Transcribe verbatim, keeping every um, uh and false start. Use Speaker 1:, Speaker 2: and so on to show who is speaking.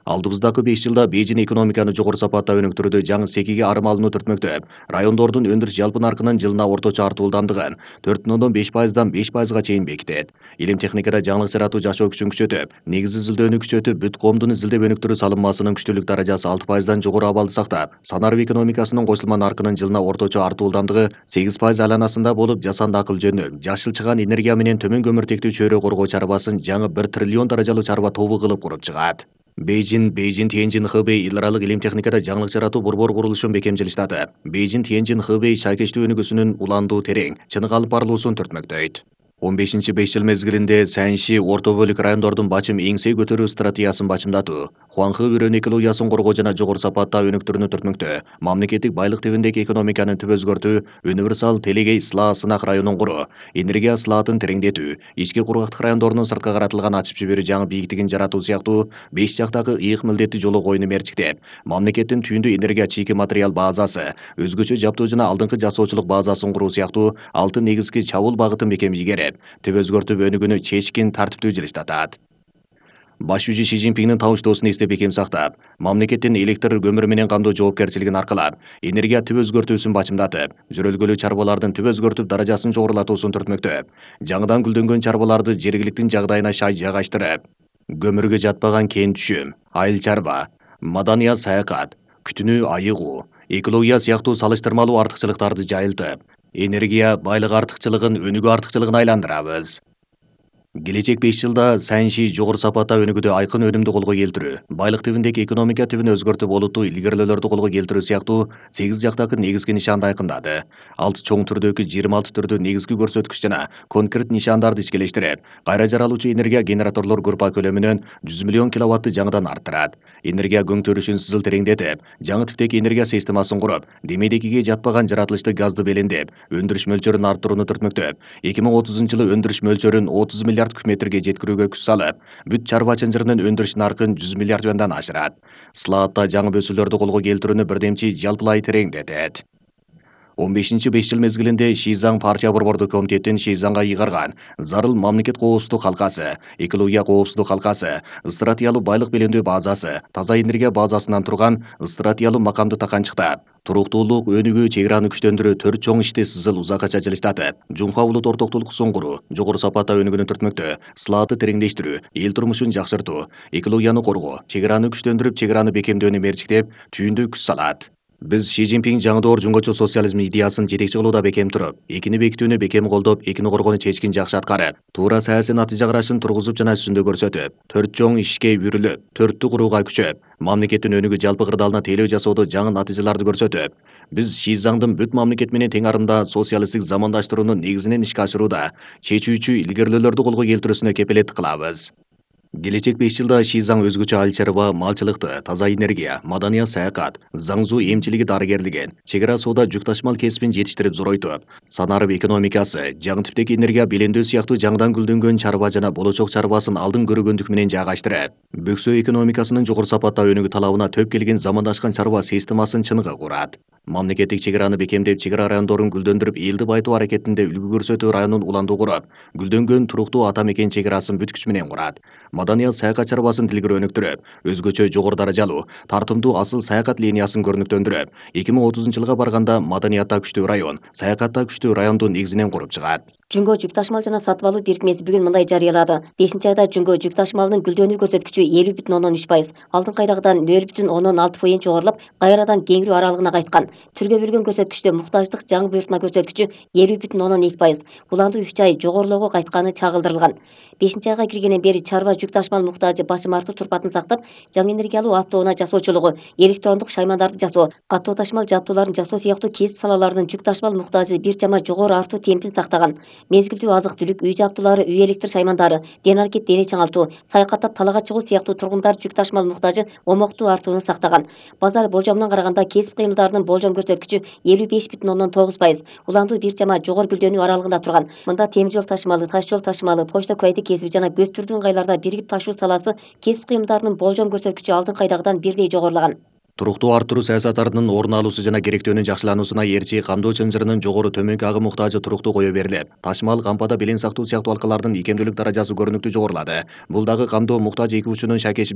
Speaker 1: Алдыбыздагы беш жылда Бейжин экономиканы жогору сапатта өнүктүрүүдө жаңы секиге арым алууну түртмөктө. Райондордун өндүрүш жалпы наркынын жылына орточо артуу ылдамдыгын төрт бүтүн ондон беш пайыздан беш пайызга чейин бекитет. Илим техникада жаңылык жаратуу жашоо күчүн күчөтүп, негизи изилдөөнү күчөтүп, бүт коомдун изилдеп өнүктүрүү салынмасынын күчтүүлүк даражасы алты пайыздан жогору абалды сактап, санарып экономикасынын кошулма наркынын жылына орточо артуу ылдамдыгы сегиз пайыз айланасында болуп, жасанды акыл жөнү, жашыл чыгаан энергия менен төмөн көмүртектүү чөйрө коргоо чарбасын жаңы бир триллион даражалуу чарба тобу кылып куруп чыгат. Бейжин, Бейжин Тиенжин Хэбэй эл аралык илим техникада жаңылык жаратуу борбор курулушун бекемчилиштати. Бейжин Тиенжин Хэбэй шайкечтүү өнүгүүсүнүн уландуу терең, чыныгы алып барылуусун түртмөктөйт. он бешинчи беш жыл мезгилинде Сяньши орто бөлүк райондордун бачым эңсей көтөрүү стратегиясын бачымдатуу, Хуанхэ үрөн экологиясын коргоо жана жогору сапатта өнүктүрүүнү түртмөктө, мамлекеттик байлык тибиндеги экономиканы түп өзгөртүү, универсал телегей сылаа сынак районун куруу, энергия сылаатын тереңдетүү, ички кургактык райондорунун сыртка каратылган ачып жиберүү жаңы бийиктигин жаратуу сыяктуу беш жактагы ыйык милдеттүү жолу коюуну мерчиктеп, мамлекеттин түйүндүү энергия чийки материал базасы, өзгөчө жаптоо жана алдыңкы жасоочулук базасын куруу сыяктуу алты негизги чабуул багытын бекемжигерип, түп өзгөртүп өнүгүүнү чечкин тартиптүү жылыштатат. Баш жүзү Ши Цзиньпиндин табыштоосун эстеп бекем сактап, мамлекеттин электр көмүрү менен камдоо жоопкерчилигин аркалап, энергия түп өзгөртүүсүн бачымдатып, жөрөлгөлүү чарбалардын түп өзгөртүп даражасын жогорулатуусун түртмөктө, жаңыдан гүлдөнгөн чарбаларды жергиликтин жагдайына шай жайгаштырып, көмүргө жатпаган кен түшүм, айыл чарба, маданият саякат, күтүнүү айыгуу, экология сыяктуу салыштырмалуу артыкчылыктарды жайылтып, энергия байлык артыкчылыгын өнүгүү артыкчылыгына айландырабыз. Келечек беш жылда Сяньши жогору сапатта өнүгүүдө айкын өнүмдү колго келтирүү, байлык тибиндеги экономика тибин өзгөртүп олуттуу илгерилөөлөрдү колго келтирүү сыяктуу сегиз жактагы негизги нишанды айкындады. Алты чоң түрдөгү жыйырма алты түрдүү негизги көрсөткүч жана конкрет нишандарды ишкелештирип, кайра жаралуучу энергия генераторлор группа көлөмүнөн жүз миллион киловаттты жаңыдан арттырат. Энергия көңтөрүшүн сызыл тереңдетип, жаңы типтеги энергия системасын куруп, демейдегиге жатпаган жаратылышты газды белендеп, өндүрүш мөлчөрүн арттырууну түртмөктөп, эки миң отузунчу жылы өндүрүш мөлчөрүн отуз миллиард куб метрге жеткирүүгө күч салып, бүт чарба чынжырынын өндүрүш наркын жүз миллиард юандан ашырат. Сылаатта жаңы бөсүүлөрдү колго келтирүүнү бирдемчи жалпылай тереңдетет. он бешинчи беш жыл мезгилинде Шизаң партия борбордук комитеттин Шизаңга ыйгарган зарыл мамлекет коопсуздук калкасы, экология коопсуздук калкасы, стратегиялуу байлык белемдөө базасы, таза энергия базасынан турган стратегиялуу макамды таканчыктап, туруктуулук, өнүгүү, чек араны күчтөндүрүү төрт чоң ишти сызыл узакка жылыштатып, жумха улут ортоктулуксун куруу, жогору сапатта өнүгүүнү түртмөктө, сылаатты тереңдештирүү, эл турмушун жакшыртуу, экологияны коргоо, чек араны күчтөндүрүп, чек араны бекемдөөнү мерчиктеп, түйүндүү күч салат. Биз Ши Цзиньпин жаңы доор жумгачу социализм идеясын жетекчи кылууда бекем туруп, экини бекитүүнү бекем колдоп, экини коргоону чечкин жакшы аткарып, туура саясий натыйжа карашын тургузуп жана сүзүндө көрсөтүп, төрт чоң ишке бүрүлүп, төрттү курууга күчөп, мамлекеттин өнүгүү жалпы кырдаалына тейлөө жасоодо жаңы натыйжаларды көрсөтүп, биз Шизаңдын бүт мамлекет менен тең арымда социалисттик замандаштыруунун негизинен ишке ашырууда чечүүчү илгерилөөлөрдү колго келтирүүсүнө кепилеттик кылабыз. Келечек беш жылда Шизаң өзгөчө айыл чарба, малчылыкты, таза энергия, маданият саякат, заңзуу эмчилиги дарыгерлигин, чек ара соода жүк ташымал кесибин жетиштирип зоройтуп, санарып экономикасы, жаңы типтеги энергия белендөө сыяктуу жаңыдан гүлдөнгөн чарба жана болочок чарбасын алдын көргөндүк менен жайгаштырып, бөксө экономикасынын жогору сапатта өнүгүү талабына төп келген замандашкан чарба системасын чыныгы курат. Мамлекеттик чек араны бекемдеп, чек ара райондорун гүлдөндүрүп, элди байытуу аракетинде үлгү көрсөтүү районун уландуу куруп, гүлдөнгөн туруктуу ата мекен чек арасын бүт күч менен курат. Маданият саякат чарбасын тилгер өнүктүрүп, өзгөчө жогору даражалуу, тартымдуу асыл саякат линиясын көрүнүктөндүрүп, эки миң отузунчу жылга барганда маданиятта күчтүү район, саякатта күчтүү райондун негизинен куруп чыгат.
Speaker 2: Жумго жүк ташымал жана сатып алуу бирикмеси бүгүн мындай жарыялады. бешинчи айда Жумго жүк ташымалынын гүлдөнүү көрсөткүчү элүү бүтүн ондон үч пайыз, алдыңкы айдагыдан нөл бүтүн ондон алты фоиз жогорулуп, кайрадан кеңирүү аралыгына кайткан. Түргө бөлгөн көрсөткүчтө муктаждык жаңы буйртма көрсөткүчү элүү бүтүн ондон эки пайыз, уландуу үч ай жогорулоого кайтканы чагылдырылган. бешинчи айга киргенден бери чарба жүк ташымал муктажы башым артуу турпатын сактап, жаңы энергиялуу автоунаа жасоочулугу, электрондук шаймандарды жасоо, каттоо ташымал жабдууларын жасоо сыяктуу кесип салаларынын жүк ташымал муктажы бир чама жогору артуу темпин сактаган. Мезгилдүү азык түлүк, үй жабдуулары, үй электр шаймандары, ден аракет дене чаңалтуу, саякаттап талаага чыгуу сыяктуу тургундар жүк ташымал муктажы омоктуу артууну сактаган. Базар болжомунан караганда кесип кыймылдарынын болжом көрсөткүчү элүү беш бүтүн ондон тогуз пайыз, уландуу бир чама жогору гүлдөнүү аралыгында турган. Мында темир жол ташымалы, таш жол ташымалы, почта куайты кесиби жана көп түрдүү ыңгайларда биригип ташуу саласы кесип кыймылдарынын болжом көрсөткүчү алдыңкы айдагыдан бирдей жогорулаган.
Speaker 1: Туруктуу арттыруу саясаттарынын орун алуусу жана керектөөнүн жакшылануусуна ээрчи камдоо чынжырынын жогору төмөнкү агым муктажы туруктуу кое берилип, ташымал, кампада белең сактоо сыяктуу алкалардын ийкемдүүлүк даражасы көрүнүктүү жогорулады. Бул дагы камдоо муктаж эки учунун шайкешип